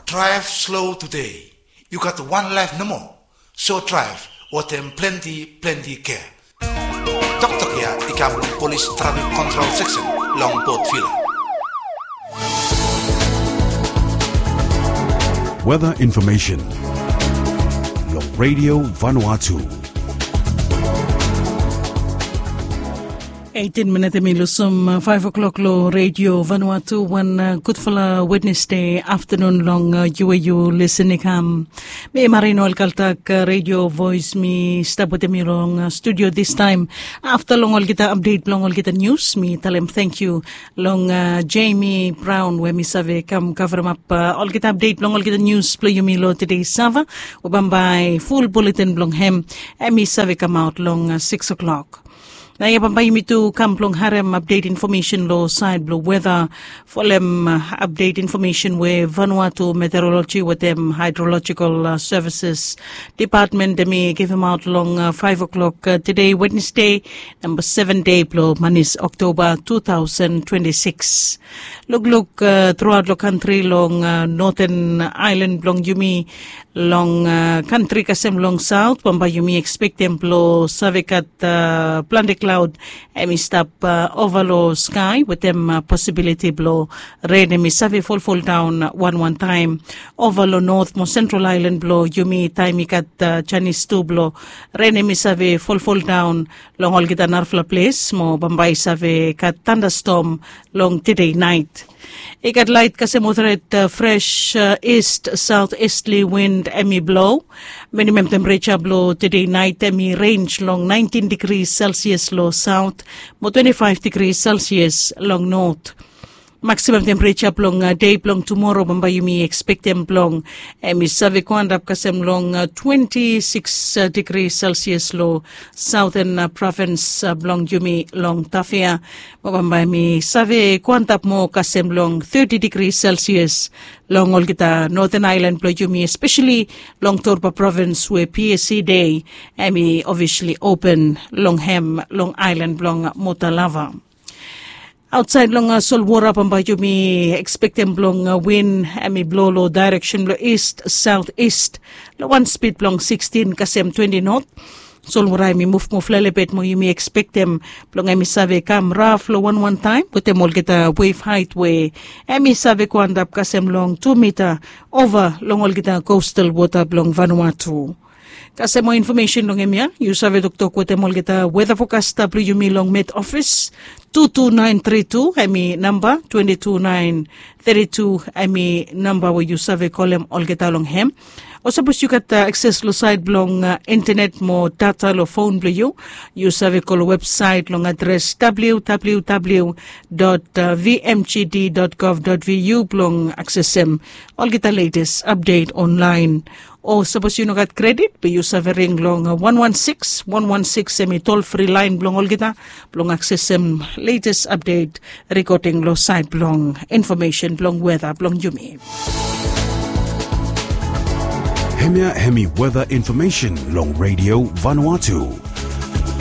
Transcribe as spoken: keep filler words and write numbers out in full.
Drive slow today. You got one life no more. So drive wetem plenty, plenty care. Toktok ya i kam long Police Traffic Control Section long Port Vila. Weather information long Radio Vanuatu. Eighteen minit em i lusim five o'clock lo Radio Vanuatu. Wan gudfala Wednesday afternoon long yu we yu lisin i kam. Mi Marino Alkaltak, Radio Voice, mi stap wetem yu long studio this time. Afta long olgeta update blong olgeta news, mi talem thank you long Jamie Brown we mi save kam kavremap olgeta update blong olgeta news blong yumi lo todei Sava. We bambae full bulletin blong hem em i save kamaot long six o'clock. Na ya bambae yumi tu kam blong harem update information lo side blong weather. Folem update information we Vanuatu Meteorology wetem Hydrological Services Department em i givemaot long five o'clock todei Wednesday, namba seven dei blong manis Oktoba two thousand twenty-six. Lukluk truaot long kantri long noten ailan blong yumi, long kantri kasem long saot bambae yumi ekspektem blong save gat plante klaod em i stap ova long skai wetem posibiliti blong ren em i save folfoldaon wanwan taem ova long not mo sentral ailan blong yumi taem i gat janis tu blong ren em i save folfoldaon long olgeta narafala ples mo bambae i save gat tandastom long todei naet. I gat laet kasem moderate fresh east south easterly wind em i blo. Minimum tempereja blong todei naet em i renj long nineteen degrees Celsius long saot mo twenty-five degrees Celsius long not. Maksimum tempereja blong dei blong tumoro bambae yumi ekspektem blong em i save go antap kasem long twenty-six degrees Celsius long saoten provins blong yumi long Tafea. Mo bambae em i save go antap moa kasem long thirty degrees Celsius long olgeta noten ailan blong yumi, espeseli long Torba provins we PSC dei em i ofisli open long hem long ailan blong Motalava. Aotsaed long solwora bambae yumi ekspektem blong win em i blo long daereksen blong ist saot ist long wan spid blong sixteen kasem twenty not. Solwora em i muvmuv lelebet mo yumi ekspektem blong em i save kam raf long wanwan taem wetem olgeta wef haet we em i save go antap kasem long tu mita ova long olgeta kostal wota blong Vanuatu. Kasem moa infomesen long hemia yu save toktok wetem olgeta weta fokasta blong yumi long Met Ofis. Two two nine three two em i namba, twenty two nine thirty two em i namba we yu save kolem olgeta long hem. O sapos yu gat akses long saet blong intenet mo data long fon blong yu, yu save go long websaet long adres www dot vmgd dot gov dot vu blong aksesem olgeta letes apdet onlaen. O sapos yu no gat kredit be yu save ring long wan wan sikis wan wan sikis em i tolfri laen blong olgeta blong aksesem letes apdet rikoding long saed blong infomesen blong weta blong yumi. Hemia hemi weta infomesen long Redio Vanuatu.